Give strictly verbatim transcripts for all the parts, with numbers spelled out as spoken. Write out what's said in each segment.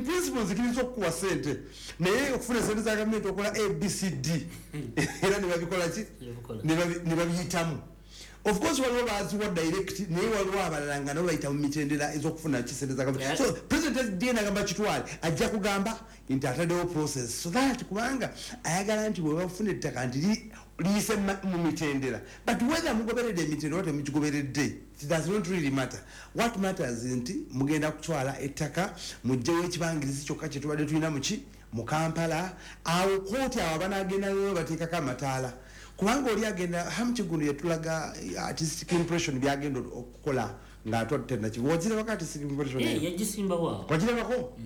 Principle zikiriza okukuwa sente, naye okufuna sente za gavumenti okola A B C D, era ne babikola ki, ne babiyitamu. Of course waliwo baziwa direct, naye waliwo abalala nga nabo bayita mu mitendera ez'okufuna kisente za gavumenti. So President D N agamba kitwale, ajja kugamba nti ataddewo process so that, kubanga ayagala nti bwe bafuna ettaka nti liyise mu mitendera. But whether mugoberedde emitendera oba temugigoberedde, it does not really matter. What matters nti mugenda kutwala ettaka, mugjewo ekibangirizi kyokka kyetubadde tulina muki mu Kampala. Awo kooti awo abanagenda nayo bateekako amataala, kubanga oli agenda Ham Kiggundu yatulaga artistic impression byagenda okukola ng'atwadde Nakivubo. Wagirabako artistic impression? Yagisimbawo. Wagirabako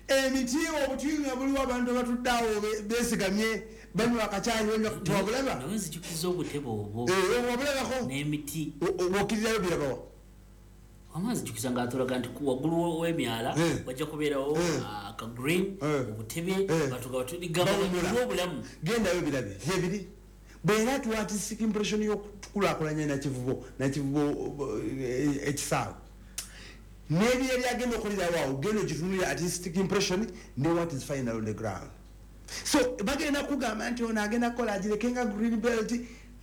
emiti, obuti nga buliwo, abantu abatudde awo beesigamye, banywa akacaayi, banywa. Tewabulaba? Nawe nzijukiza obutebe obwo. Wabulabako? N'emiti. Bwokirirayo birabawa? Wama nzijukiza ng'atulaga nti waggulu w'emyala wajja kubeerawo aka green, obutebe, batuga obulamu. Gendayo birabe gyebiri. Bwera tuwa artistic impression y'okukulaakulanya Nakivubo, Nakivubo ekisaawe n'ebyo ebyagenda okulirawo awo, genda ogitunulira artistic impression ne what is final on the ground. So bagenda kugamba nti ono agenda kukola agireke nga green belt.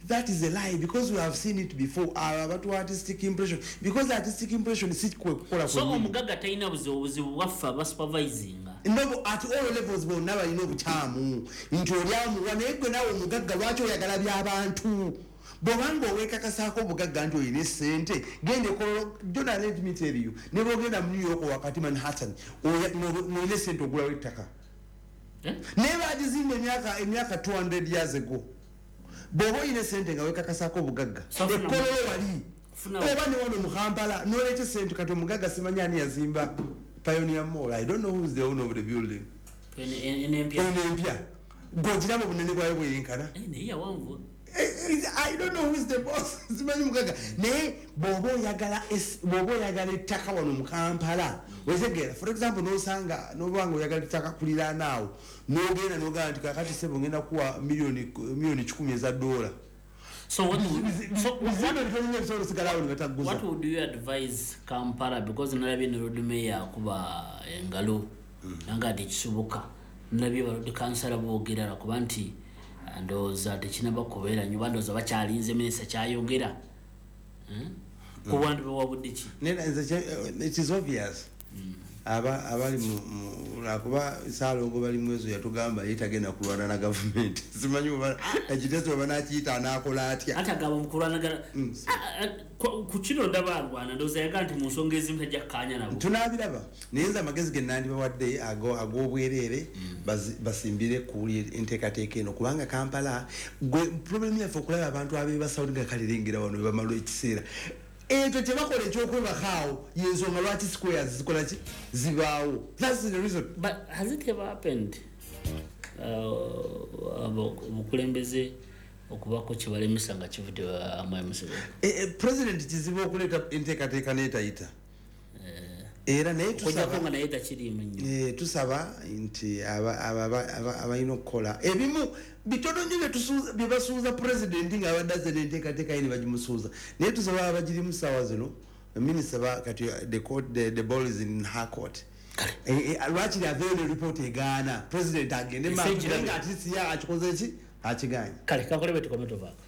That is a lie, because we have seen it before. Abo abatuwa artistic impression, because artistic impression si kwe kukola. So omugagga talina buzibu, obuzibu bwaffe abasupervisinga. No, at all levels bonna balina obukyamu nti olyamuwa. Naye gwe naawe omugagga, lwaki oyagala by'abantu? Bwobanga owekakasaako obugagga nti olina esente, genda ekololo. Jona, let me tell you, ne bwogenda mu New York wakati Manhattan, ng'olina esente, ogulawo ettaka. Naye bagizimba emyaka emyaka two hundred years ago. Bw'oba olina esente nga wekakasaako obugagga, ekololo wali oba ne wano mu Kampala, noleeta esente. Kati omugagga simanyi ani yazimba Pioneer Mall. I don't know who is the owner of the building. Eno empya, gwogiraba obunene bwayo bweyenkana. I don't know who is the boss, simanyi mugagga. Naye bw'oba oyagala, bw'oba oyagala ettaka wano mu Kampala, wetegeera, for example, nosanga nobanga oyagala ettaka kuliraana awo, nogenda nogamba nti kakati sebo, ngenda kuwa miliyoni miliyoni kikumi eza dola. So what would, so what, what would you advise Kampala? Because nalabye ne Lord Mayor akuba engalo nanga tekisoboka. Nalabye ba Lord Kansala boogera lwakuba nti ndowooza tekinaba kubeera nnyo, ndowooza bakyalinze minisita kyayogera. Ku bantu bewabudde ki? It is obvious. Aba abali mu lwakuba Saalongo bali mwezo yatugamba ye tagenda kulwana na gavumenti. Simanyi oba ekiteeso oba nakiyita anaakola atya. Ate agamba mu kulwanagana ku kino ndaba alwana, ndowooza yagaa nti mu nsonga ezimu tajja kukkaanya nabo. Tunaabiraba, naye nze amagezi ge nandibawadde ag'obwereere, basimbire ku enteekateeka eno, kubanga Kampala gwe problem yaffe okulaba abantu abeebasawo nga kalirengera wano bebamala ekiseera ekyo kyebakola ekyokwebakaawo, yensonga lwaki squares zikola ki, zibaawo. That's the reason. But has it ever happened obukulembeze okubako kyebalemesa nga kivudde Mwami Museveni? President kizibu okuleeta enteekateeka neetayita era, naye tusaba nga naye takiriimu nnyo. Tusaba nti abalina okukola ebimu bitono nnyo bye basuuza Pulezidenti ng'abadde azze n'enteekateeka ye ne bagimusuuza, naye tusaba abagirimu ssaawa zino, minisita kati the court, the, the ball is in her court. Lwakiri aveeyo ne ripooti egaana, President agende nga atisi ya akikoze ki, akiganye. Kale kakole bwe tukome tuvaako.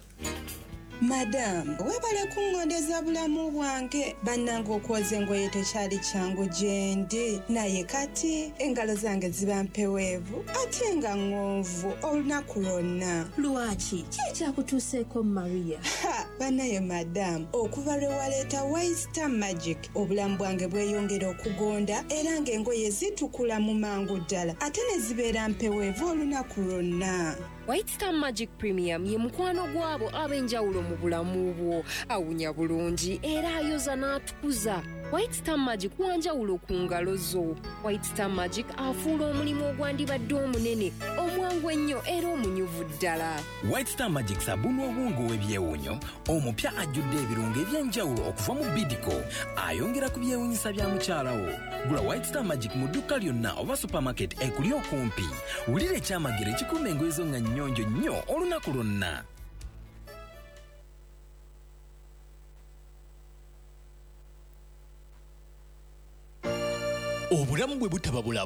Madamu, webale kuŋŋondeza bulamu bwange. Bannange, okwoza engoye tekyali kyangu gye ndi, naye kati engalo zange ziba mpeweevu ate nga ŋŋonvu olunaku lwonna. Lwaki? Ki ekyakutuuseeko, Maria? Ha, bannaye madamu, okuva lwe waleeta White Star Magic, obulamu bwange bweyongera okugonda, era ng'engoye zitukula mu mangu ddala ate ne zibeera mpeweevu olunaku lwonna. White Star Magic Premium ye mukwano gwabo ab'enjawulo mu bulamu bwo. Awunya bulungi era ayoza n'atukuza. White Star Magic wanjawulo ku ngalo zo. White Star Magic afuula omulimu ogwandibadde omunene omwangu ennyo era omunyuvu ddala. White Star Magic sabuni owungu w'ebyewuunyo omupya ajjudde ebirungo eby'enjawulo okuva mu Bidco, ayongera ku byewuunyisa bya mukyala wo. Gula White Star Magic mu dduuka lyonna oba supermarket ekuli okumpi. Wulira ekyamagero ekikuuma engoye zo nga nnyonjo nnyo olunaku lwonna. Obulamu bwe butaba bulamu.